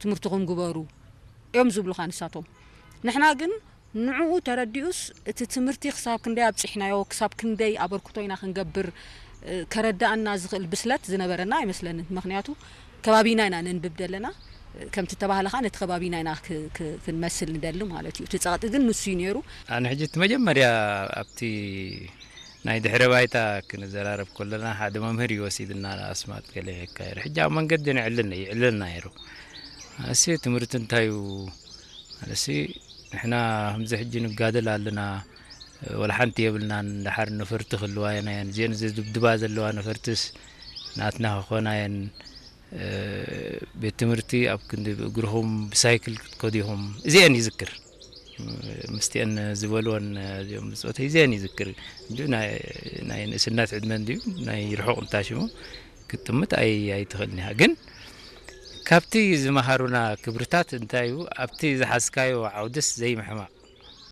ትምህርትኹም ግበሩ እዮም ዝብሉኻ ንሳቶም። ንሕና ግን ንዕኡ ተረዲኡስ እቲ ትምህርቲ ክሳብ ክንደይ ኣብፂሕናዮ፣ ክሳብ ክንደይ ኣበርክቶ ኢና ክንገብር፣ እ፣ ከረዳእና ዝኽእል ብስለት ዝነበረና ኣይመስለንን። ምኽንያቱ ከባቢና ኢና ነንብብ ዘለና፣ እ፣ ከምቲ ተባህለ ከዓ ነቲ ከባቢና ኢና ክ-፣ ክ-፣ ክንመስል ንደሊ ማለት እዩ። እቲ ጸቕጢ ግን ንሱ እዩ ነይሩ። ኣነ ሕጂ እቲ መጀመርያ ኣብቲ ናይ ድሕረ ባይታ ክንዘራረብ ከለና ሓደ መምህር እዩ ወሲድና ኣስማጥ ገለ ይካየድ። ሕጂ ኣብ መንገዲ ንዕልን ይዕልልና ነይሩ። ኣሲ ትምህርቲ እንታይ እዩ? ማለትሲ ንሕና ከምዚ ሕጂ ንጋደል ኣለና፣ ወላ ሓንቲ የብልናን። ደሓር ነፈርቲ ክህልዋ እየን፣ እዚአን ዝድብድባ ዘለዋ ነፈርትስ ናትና ክኾና እየን። እ፣ ቤት ትምህርቲ ኣብ ክንዲ ብእግርኹም ብሳይክል ክትከዱ ኢኹም። እዚአን ይዝክር። እ፣ ምስቲአን ዝበልወን፣ እዚኦም ብጾተይ እዚአን ይዝክር። እንዲሁ ናይ፣ ናይ ንእስነት ዕድመ እንዲሁ ናይ ርሑቕ እንታሽሙ ክትጥምት ኣይ-፣ ኣይትኽእልን ኢኻ። ግን ካብቲ ዝመሃሩና ክብርታት እንታይ እዩ? ኣብቲ ዝሓዝካዮ ዓውድስ ዘይምሕማቕ።